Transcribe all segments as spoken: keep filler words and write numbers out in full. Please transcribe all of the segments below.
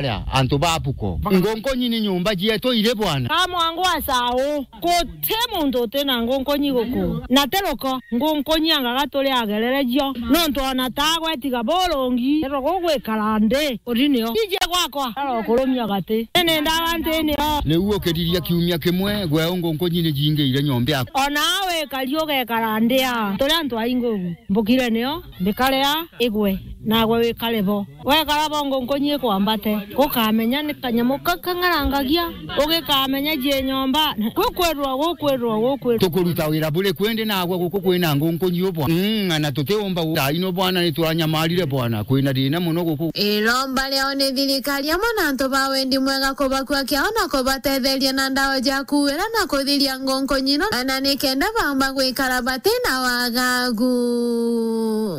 Ria, antu ba Buko. Ngunkunyi ni nyumba cietu iri bwana. Ka mwangu wa Sau, guti muntu uti na ngunkunyi guku. Na ti ruko, ngunkunyi angaga turi agerere cio. Nontu ona ta gwetiga burungi, ero gugwikara nthi, uri nio. Ije gwakwa, aro kurumia gati. Ni ndawa nthi nio. Riu ukiriria kiumia kimwe, gwe ngunkunyi ni jingiire nyomba yaku. Ona wikari ugekara nthi a, turi antu aingi ugu. Mbukire nio, mbikare a, igwe, nagwe wikare bo. Wekara bo ngunkunyi ikwambate, gukamenya ni kanyamu ka kang'arangagia, ugikamenya jie nyomba, gukwirwa, gukwirwa, gukwirwa. Tukuruta wira buri kwendi nagwe guku kwina ngunkunyi ubwa. Mm, na tutiumba gu-, thaino bwana, ni twanyamarire bwana, kwina thina muno guku. Iromba riao ni thirikari amwe na antu ba wendi mwega kubakua kiao na kubatetheria na ndawa ja kuwira na kuthiria ngunkunyi ino, na ni kenda baumba gwikara batina wagagu.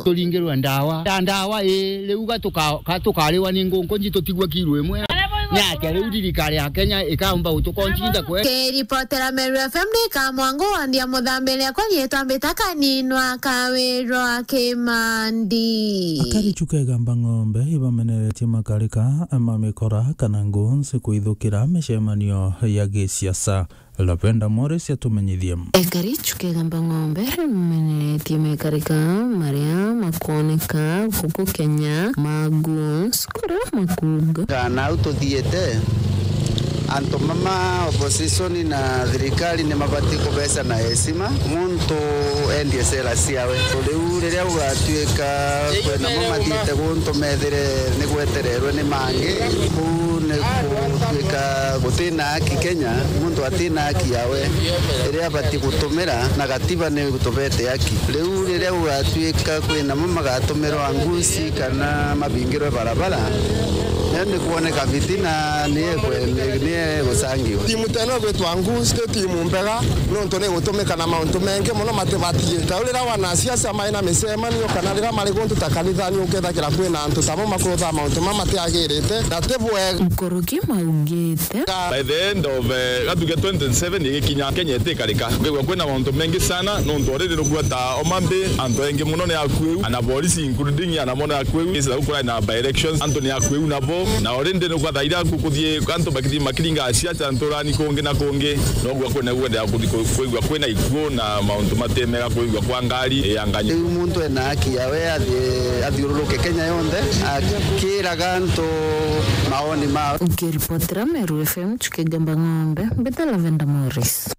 Turingirwe ndawa. Ta ndawa, ii, riu ga tuka-, ga tukariwa ni ngunkunyi tutigwe kiru imwe. Ni atia riu thirikari ya Kenya ikaumba gutukoncinda kwe? Kiripotera Meru F M ni Kamwangu wa Ndia Muthambiri akwa rietwa mbita Kaninwa Kawirwa Kimandi. Akari chukega mbang'ombe ibameneretie makarika ma mikora kana ngunsi kwithukira micemanio ya gisiasa. Lavenda Morris atumenyithie. Ekari chukega mbang'ombe rimeneretie mekarika maria makwoneka guku Kenya, maguns, kuria makuga. Kana au tuthiete, antu mama opposition na thirikari ni mabati kubeca na heshima, muntu endie sera ciawe. Riu riria gugatuika kwina mo mathiite guntu methire ni gwetererwe ni mangi, kuu ni gutuika gutina haki Kenya, muntu atina haki yawe iria abati gutumira, na gatiba ni gutubete haki. Riu riria gugatuika kwina mo magatumirwa ngusi kana mabingirwe barabara, niyo ni kwoneka fitina ni ekwe-, ni, ni egucangiwa. Timu teno gwitwa ngusi ti timu mbega, nontu ni gutumika na mauntu mengi muno matibatiite. Riu riria wanasiasa mai na micemanio kana riria mari guntu ta kanithani, ukethagira kwina antu tamo makurutha mauntu mama matiagirite na ti bwega. Nkuruki maugite. By the end of, eh, gatuge twenty twenty-seven igikinya, Kenya itikarika. Kwigua kwina mauntu mengi sana, nontu already nugua ta Homa Bay, antu aingi muno ni akuiu, ana polisi including ana mono akuiu, is like kwina by elections, antu ni akuiu nabo, na already nugua thaira kukuthie antu bakithi makiringa siasa nturani kungi na kungi, nogua kwina kwenda kuthi ku-, kwigua kwina ikuo na mauntu matemega kwigua kwa ngari ya nganya. Riu muntu ena haki yawe athi-, athiururuke Kenya yonthe, akiraga antu maoni mao. Ukiripotera Meru F M, Chuki Gamba Ng'ombe, mbita Lavenda Morris.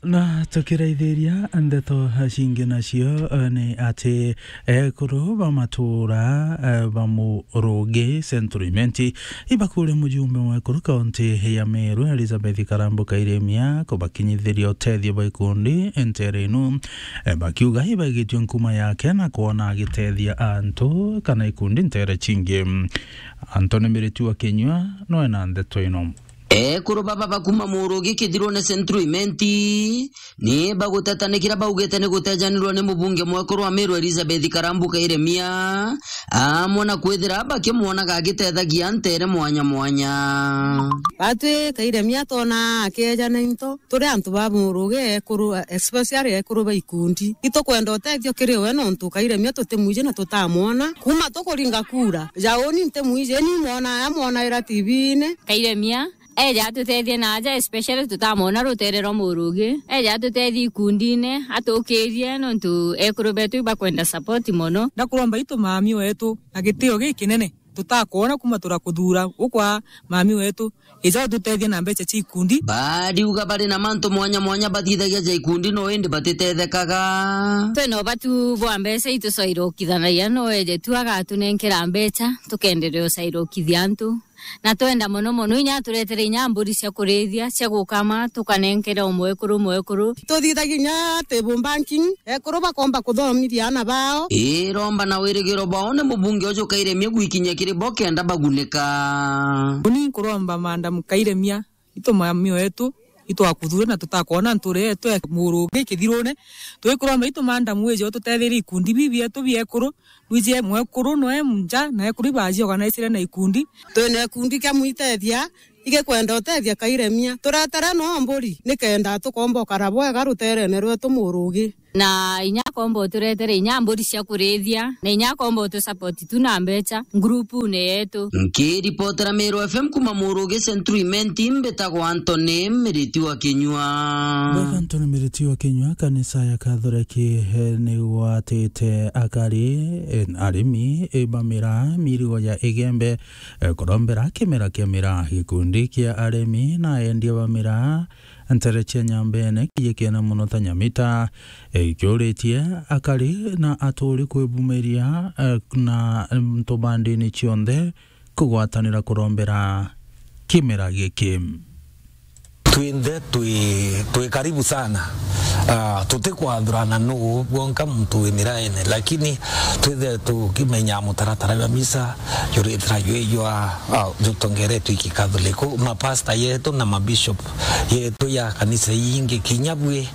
Na tukiraithiria ndeto cingi nacio, eh, ni ati ekuru ba matura, eh, ba Murugi Central Imenti ibakuria mujumbe mwekuru kaunti ya Meru Elizabeth Karambu Kairemia kubakinyithiria utethio bwa ikundi ntere inu, eh, bakiuga ibaigitue nkuma yake na kwona agitethia antu kana ikundi ntere cingi. Anthony Miritu wa Kinyua noe na ndeto ino. Ekuru baba bakuma Murugi Kithirune Central Imenti ni bagutetanikira baugite ni gutejanirwa ni mubunge mwekuru wa Meru Elizabeth Karambu Kairemia, amwe na kwithira bakimwonaga agitethagia ntere mwanya mwanya. Batwi Kairemia twona akejana into, turi antu ba Murugi ekuru, especially ekuru ba ikundi. Itukwenda utethio kiri we nontu Kairemia tutimwiji na tutamwona. Kuma tukuringa kura, ja uni ntimwiji, ni mwona aya mwonaira T V-ini. Kairemia eja atutethie na aja, especially tutamwona rutere rwa Murugi. Eja atutethie ikundine, atukirie nontu ekuru betu ibakwenda support mono. Ndakuromba itu mami wetu na gitio gikinene tutakwona kuma turakuthura ukwa mami wetu. Ija ututethie na mbeca cia ikundi. Bariuga bari na mantu mwanya mwanya bathithagia ja ikundi no indi batitethekaga. Twina ubatu bwa mbeca itucairukithanagia, no eje tu agatunenkera mbeca, tukenderea ucairukithia antu. Na twenda mono mono inya aturetere inya mburi cia kurithia, cia gukama, tukanenkere o mwekuru mwekuru. Tuthithagia inya table banking, ekuru bakomba kuthomithia ana bao. Iromba na wirigiro bao ni mubunge uju Kairemia gwikinyia kiri bo kenda bagunika. Uni nkuromba Madam Kairemia, itu mami wetu, itwakuthure na tutakwona nture yetu ya Murugi Kithirune. Twikuromba itu Madam wije ututetherie ikundi bibi bietu biekuru, wije mwekuru noe nja na ekuru ibaji organizire na ikundi. Twina ikundi kia mwitethia, igikwenda utethia Kairemia. Turetere no mburi, nikenda tukomba ukara bwega ruterene rwetu Murugi. Na inya akomba uturetere inya mburi cia kurithia, na inya akomba utusupport tu na mbecha group-une yetu. Nkiripotera Meru F M kuma Murugi Central Imenti, mbitagwa Anthony Miriti wa Kinyua. Bwega Anthony Miriti wa Kinyua. Kanisa ya Kathoreki, eh, ni gwatite akari, eh, arimi, eh, ba miraa, mirigo ya Igembe, eh, kurombera kimera kia miraa. Gikundi kia arimi na endia ba miraa ntere cia Nyambene kijikiene mono ta Nyamita, eh, ikiuritie akari na aturi kwibumiria, eh, na antu ba ndini cionthe kugwatanira kurombera kimera giki. Twinthe twi, twi karibu sana. Ah, tutikwathurana nuu bwonka muntu wi miraene, lakini twithe tukimenya mutaratara jwa misa juritira jwi jwa, ah, jutongeretwe iki Katholiku, mapasta yetu na mabishop yetu ya kanisa ingi kinya bwi,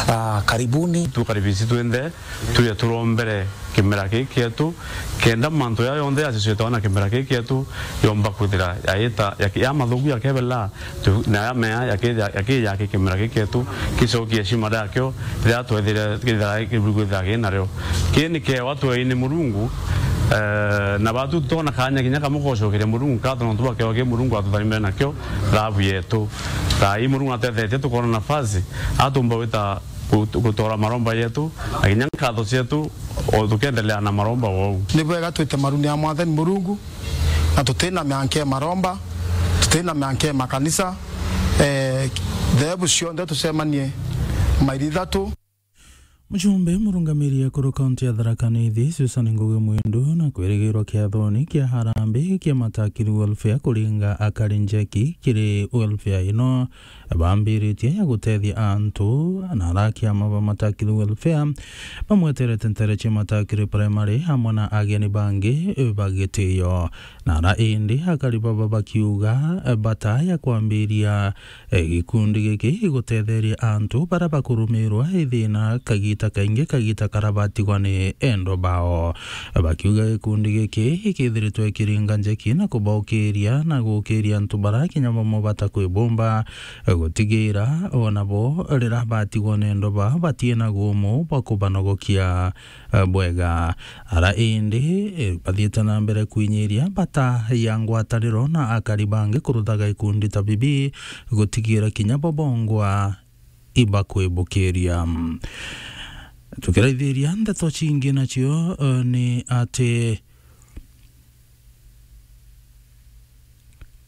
ah, karibuni. Tukaribisi twinthe, tuje turombere kimera giki kietu, kenda mantu ya yonthe yacicwitwa na kimera giki kietu yomba kwithira yaita, yaki-, ya mathuku yakebela, tu-, na ya mea yaki-, yaki-, yaki kimera giki kietu, kicokie cima riakio, riria twethire kithira kiburu kwithira ki nario. Ki ni kiewa tweini Murungu, eh, na batu tona kanya kinya kamwe gocokeria Murungu nkatho nontu bwa kiewa ki Murungu atutharimire nakio thabu yetu. Thaa ii Murungu atethetie tukona nafasi, atumba wita gut-, gutora maromba yetu, na kinya nkatho cietu, o tukiendelea na maromba wou. Ni bwega twite maruni ya Mwathani Murungu, na tutina mianke maromba, tutina mianke makanisa, eh, theebu cionthe tucemanie mairi ithatu. Mujumbe murungamiri ekuru kaunti ya Tharaka Nithi, Susan Ngugi Mwindu, na kwirigirwa kiathoni kia Harambee kia Matakiri Welfare kuringa akari njeki kiri welfare ino bambiritie ya gutethia antu, na ara kiama ba Matakiri Welfare bamweterete ntere cia Matakiri Primary amwe na ageni bangi ba gitio. Na ara indi akari baba bakiuga bata ya kwambiria, eh, gikundi giki igutetheria antu bara bakurumirwa ithina kagita kaingi, kagita kara batigwa ni endwa bao. Bakiuga gikundi giki gikithiritwe kiringa njeki na kubaukiria na gukiria antu bara kinya bamwe batakwibumba, gutigira o nabo rira batigwa ni endwa bao batiina gumu bwa kubanogokia, eh, bwega. Ara indi, eh, bathiite na mbere kwinyiria bata ya ngwataniro na akari bangi kuruthaga ikundi ta bibi gutigira kinya bo bongwa ibakwibukiria. Tukiraithiria ndeto cingi nacio, eh, ni ati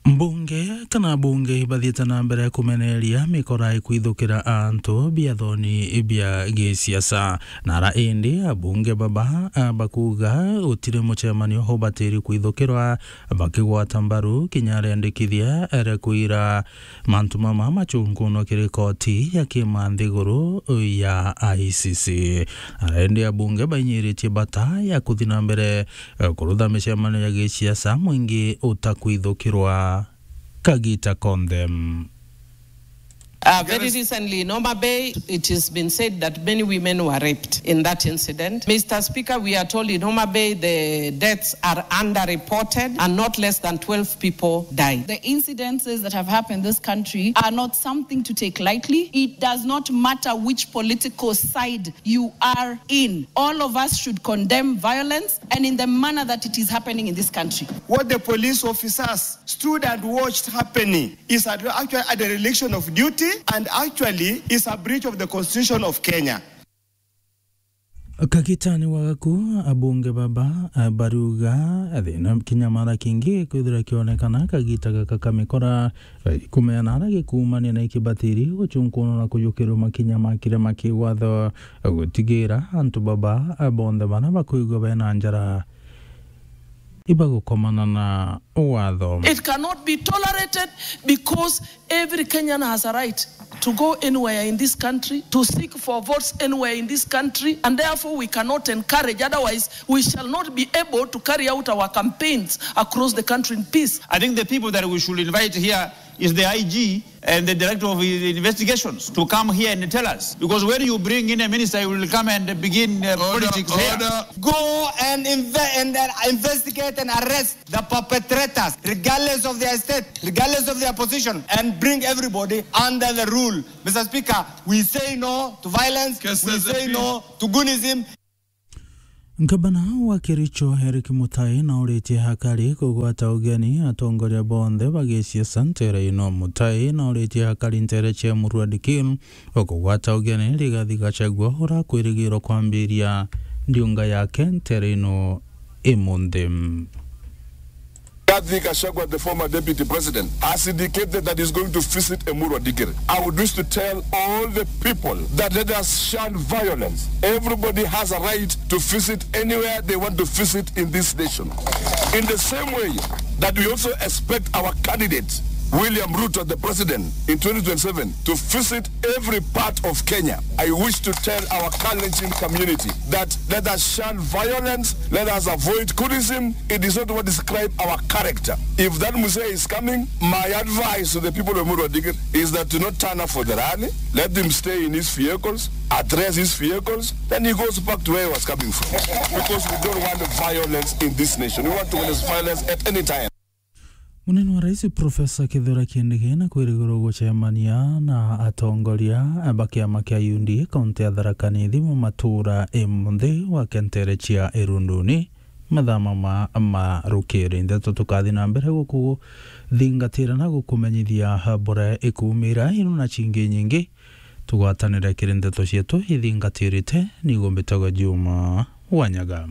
mbunge kana abunge bathiite na mbere kumeneria mikora ikwithukira antu biathoni bia gisiasa. Na ara indi abunge baba, ah, bakuga gutiri mucemanio ubatiri kwithukirwa, bakigwata mbaru kinya arendikithia ere kwira mantu mama macunkunwa kiri koti ya kiima nthiguru ya I C C. Ara indi abunge bainyiritie bata ya kuthi na mbere, eh, kurutha micemanio ya gisiasa mwingi utakwithukirwa kagita konthe. Uh, very recently in Homa Bay, it has been said that many women were raped in that incident. Mister Speaker, we are told in Homa Bay the deaths are underreported and not less than twelve people died. The incidences that have happened in this country are not something to take lightly. It does not matter which political side you are in. All of us should condemn violence and in the manner that it is happening in this country. What the police officers stood and watched happening is a, actually a dereliction of duty and actually is a breach of the Constitution of Kenya. Kagitani wa gaku, abunge baba, ah, baruga, thina kinya mara kingi kwithira kionekana kagita gaka ka mikora, eh, kumenya nara gikumania na ikibatiri gucunkunwa na kujukirwa makinya ma kiria ma kiwatho, gutigira antu baba, ah, bonthe bara bakwigua bena njara ibagukomana na watho. It cannot be tolerated because every Kenyan has a right to go anywhere in this country, to seek for votes anywhere in this country, and therefore we cannot encourage, otherwise we shall not be able to carry out our campaigns across the country in peace. I think the people that we should invite here is the I G and the Director of Investigations to come here and tell us. Because when you bring in a minister, he will come and begin, uh, politics here. Order. Go and inve-, and, uh, investigate and arrest the perpetrators, regardless of their state, regardless of their position, and bring everybody under the rule. Mister Speaker, we say no to violence. We say no to goonism. Ngavana wa Kericho Eric Mutai nauritie hakari kugwata ugeni atongoria bonthe ba gisiasa ntere ino. Mutai nauritie hakari ntere cia Emurua Dikirr o kugwata ugeni Rigathi Gachagua urakwirigirwa kwambiria ndiunga yake ntere ino imunthi. Rigathi Gachagua, the former deputy president, has indicated that he's going to visit Emurua Dikirr. I would wish to tell all the people that let us shun violence. Everybody has a right to visit anywhere they want to visit in this nation. In the same way that we also expect our candidate, William Ruto, the president, in twenty twenty-seven, to visit every part of Kenya, I wish to tell our Kalenjin community that let us shun violence, let us avoid coolism. It is not what describe our character. If that Mzee is coming, my advice to the people of Emurua Dikirr is that do not turn up for the rally. Let him stay in his vehicles, address his vehicles, then he goes back to where he was coming from. Because we don't want violence in this nation. We want to witness violence at any time. Munene wa Rais Profesa Kithure Kindiki na kwirigirwa gucemania na atongoria ba kiama kia U D A kaunti ya Tharaka Nithi mu matura imunthi wa kentere cia Irunduni mathaa ma, ma rukiri. Ndeto tukathi na mbere gukuthingatira na gukumenyithia bura ikumira ino na cingi nyingi. Tugwatanire kiri ndeto cietu ithingatirite, nigo mbitagwa Juma Wanyaga.